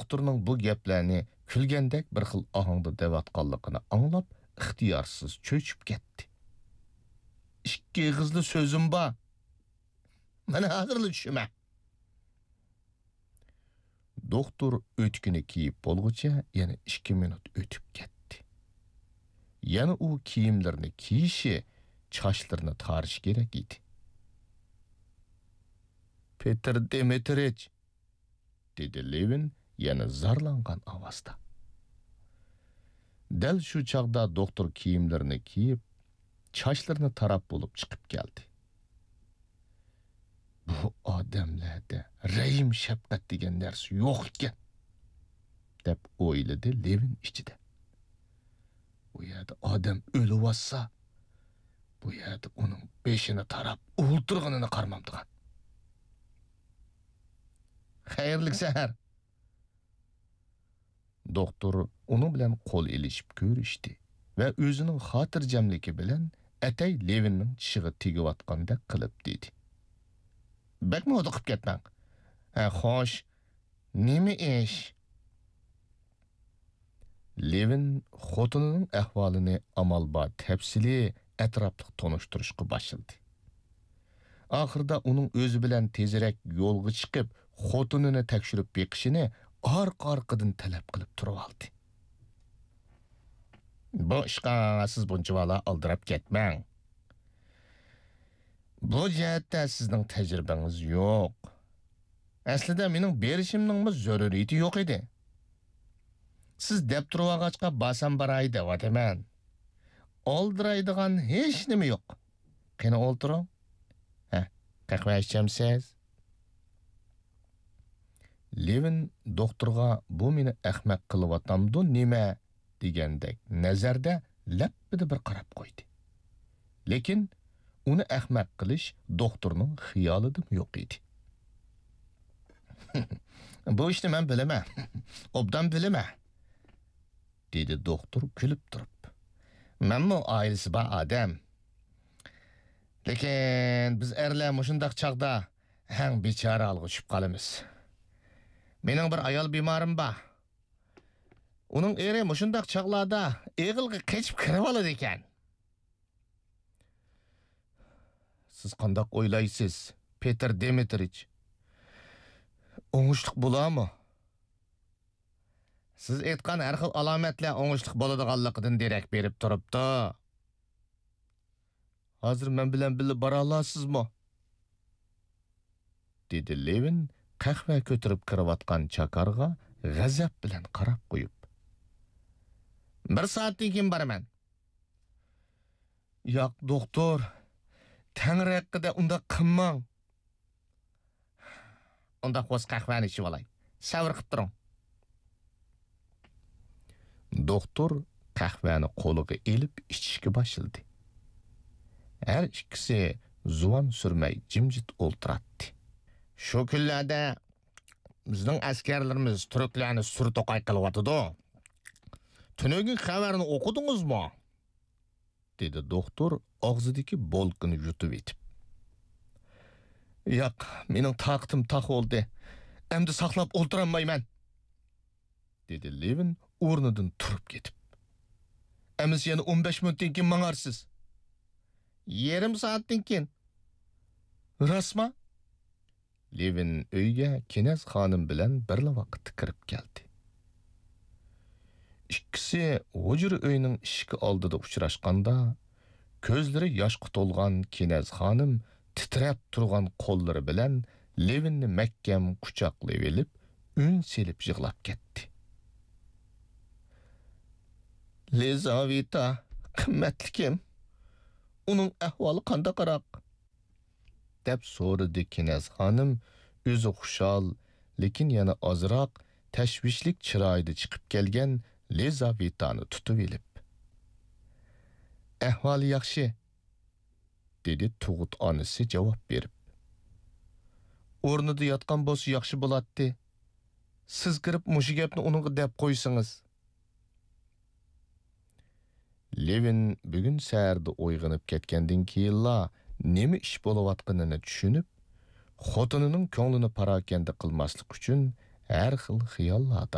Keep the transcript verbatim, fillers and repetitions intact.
دوختۇرنىڭ بۇ گەپلەرنى كۈلگەندەك بىر خىل ئاھاڭدا دەۋاتقانلىقىنى ئاڭلاپ، ئىختىيارسىز چۆچۈپ كەتتى. «ئىككى ئېغىزلا سۆزۈم بار. مانا ھازىرلا چۈشىمە.» دوختۇر ئۆتۈكىنى كىيىپ بولغۇچە يەنە ئىككى مىنۇت ئۆتۈپ كەتتى. يەنە ئۇ كىيىملىرىنى كىيىشى، چاچلىرىنى تارىشى كېرەك ئىدى. «پېتىر دىمىترىچ!» دېدى لېۋىن يەنە زارلانغان ئاۋازدا. دەل شۇ چاغدا دوختۇر كىيىملىرىنى كىيىپ، چاچلىرىنى تاراپ بولۇپ چىقىپ كەلدى. «بۇ ئادەملەردە رەھىم-شەپقەت دېگەن نەرسە يوق ئىكەن» دەپ ئويلىدى لېۋىن ئىچىدە. «ئۇ يەردە ئادەم ئۆلۈۋاتسا، بۇ يەردە ئۇنىڭ بېشىنى تاراپ ئولتۇرغىنىنى قارىمامدىغان.» «خەيرلىك سەھەر!» دوختۇر ئۇنىڭ بىلەن قول ئېلىشىپ كۆرۈشتى ۋە ئۆزىنىڭ خاتىرجەملىكى بىلەن ئەتەي لېۋىننىڭ چىشىغا تېگىۋاتقاندەك قىلىپ دېدى: «بەكمۇ ھودۇقۇپ كەتمەڭ. ھە، خوش، نېمە ئىش؟» لېۋىن خوتۇنىنىڭ ئەھۋالىنى ئامال بار تەپسىلىي، ئەتراپلىق تونۇشتۇرۇشقا باشلىدى. ئاخىرىدا ئۇنىڭ ئۆزى بىلەن تېزرەك يولغا چىقىپ، خوتۇنىنى تەكشۈرۈپ بېقىشىنى ئارقا-ئارقىدىن تەلەپ قىلىپ تۇرۇۋالدى. «بۇ ئىشقا سىز بۇنچىۋالا ئالدىراپ كەتمەڭ. بۇ جەھەتتە سىزنىڭ تەجرىبىڭىز يوق. ئەسلىدە مېنىڭ بېرىشىمنىڭمۇ زۆرۈرىيىتى يوق ئىدى. سىز دەپ تۇرۇۋالغاچقا بارسام باراي دەۋاتىمەن. ئالدىرايدىغان ھېچنېمە يوق. قېنى ئولتۇرۇڭ. ھە، قەھۋە ئىچەمسىز؟» لېۋىن دوختۇرغا «بۇ مېنى ئەخمەق قىلىۋاتامدۇ نېمە؟» دېگەندەك نەزەردە لەپپىدە بىر قاراپ قويدى. لېكىن ئۇنى ئەخمەق قىلىش دوختۇرنىڭ خىيالىدىمۇ يوق ئىدى. «بۇ ئىشنى مەن بىلىمەن، ئوبدان بىلىمەن.» دېدى دوختۇر كۈلۈپ تۇرۇپ. «مەنمۇ ئائىلىسى بار ئادەم. لېكىن بىز ئەرلەر مۇشۇنداق چاغدا ھەڭ بىچارە ھالغا چۈشۈپ قالىمىز. مېنىڭ بىر ئايال بىمارىم بار. ئۇنىڭ ئېرى مۇشۇنداق چاغلاردا ئېغىلغا قېچىپ كىرىۋالىدىكەن.» «سىز قانداق ئويلايسىز، پېتىر دىمىترىچ؟ ئوڭۇشلۇق بولارمۇ؟» «سىز ئېيتقان ھەر خىل ئالامەتلەر ئوڭۇشلۇق بولىدىغانلىقىدىن دېرەك بېرىپ تۇرۇپتۇ.» «ھازىر مەن بىلەن بىللە بارالامسىزمۇ؟» دېدى لېۋىن قەھۋە كۆتۈرۈپ كىرىۋاتقان چاكارغا غەزەپ بىلەن قاراپ قويۇپ. «بىر سائەتتىن كېيىن بارىمەن.» «ياق، دوختۇر، تەڭرى ھەققىدە ئۇنداق قىلماڭ.» «ئۇنداق بولسا قەھۋەنى ئىچىۋالاي. سەۋر قىپ تۇرۇڭ.» دوختۇر قەھۋەنى قولىغا ئېلىپ ئىچىشكە باشلىدى. ھەر ئىككىسى زۇۋان سۈرمەي جىمجىت ئولتۇراتتى. «شۇ كۈنلەردە بىزنىڭ ئەسكەرلىرىمىز تۈركلەرنى سۈر توقاي قىلىۋاتىدۇ. تۈنۈگۈنكى خەۋەرنى ئوقۇدىڭىزمۇ؟» دېدى دوختۇر ئاغزىدىكى بولكىنى يۇتۇۋېتىپ. «ياق، مېنىڭ تاقىتىم تاق بولدى. ئەمدى ساقلاپ ئولتۇرالمايمەن.» دېدى لېۋىن ئورنىدىن تۇرۇپ كېتىپ. «ئەمىسە يەنە ئون بەش مىنۇتتىن كېيىن ماڭارسىز.» «يېرىم سائەتتىن كېيىن.» «راستما؟» لېۋىن ئۆيگە كېنەز خانىم بىلەن بىرلا ۋاقىتتا كىرىپ كەلدى. ئىككىسى ھۇجرا ئۆينىڭ ئىشىكى ئالدىدا ئۇچراشقاندا، كۆزلىرى ياشقا تولغان كېنەز خانىم تىترەپ تۇرغان قوللىرى بىلەن لېۋىننى مەھكەم قۇچاقلىۋېلىپ، ئۈن سېلىپ يىغلاپ كەتتى. «لىزاۋېتا، قىممەتلىكىم، ئۇنىڭ ئەھۋالى قانداقراق؟» دەپ سورىدى كېنەز خانىم ئۆزى خۇشال، لېكىن يەنە ئازراق تەشۋىشلىك چىرايىدا چىقىپ كەلگەن لىزاۋېتانى تۇتۇۋېلىپ. «ئەھۋالى ياخشى»، دېدى تۇغۇت ئانىسى جاۋاب بېرىپ. «ئورنىدا ياتقان بولسا ياخشى بولاتتى. سىز كىرىپ مۇشۇ گەپنى ئۇنىڭغا دەپ قويسىڭىز.» لېۋىن بۈگۈن سەھەردە ئويغىنىپ كەتكەندىن كېيىنلا نېمە ئىش بولۇۋاتقىنىنى چۈشىنىپ، خوتۇنىنىڭ كۆڭلىنى پاراكەندە قىلماسلىق ئۈچۈن ھەر خىل خىياللاردا